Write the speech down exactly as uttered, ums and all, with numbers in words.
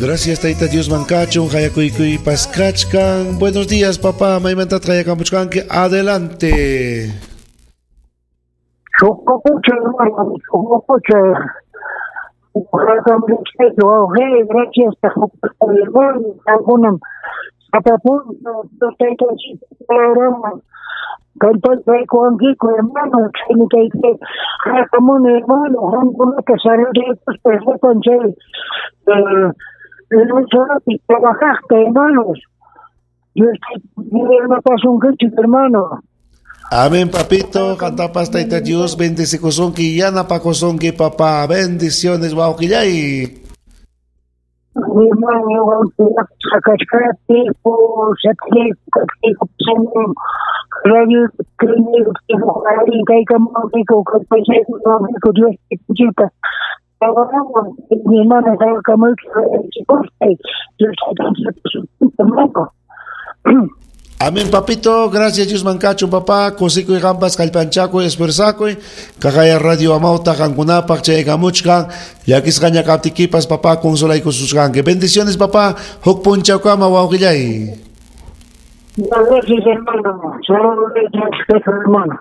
Gracias Tayta Dios mankachun qayakuykuypas kachkan. Buenos días, papá. Maymantataq qayakamuchkanki? Adelante. Chocopucha, hermano, Chocopucha. Gracias, hermano. Alguna hermano, hermano, trabajaste, hermanos. Hermano. Amén, papito. Cantapas Tayta Dios, bendice kosonki, yanapakosonki, papá. Bendiciones, wawqillay. Amén, papito. Gracias, Dios mancacho, papá. Kusikuy qampas kallpanchakuy, esfuerzakuy. Kaqaya Radio Amawta qankunapaq chaykamuchkan. Llakisqaña kaptikipas, papá, consolaykususqanki. Bendiciones, papá. Huk punchawkama, wawqillay. Gracias, hermano. Saludos, hermano.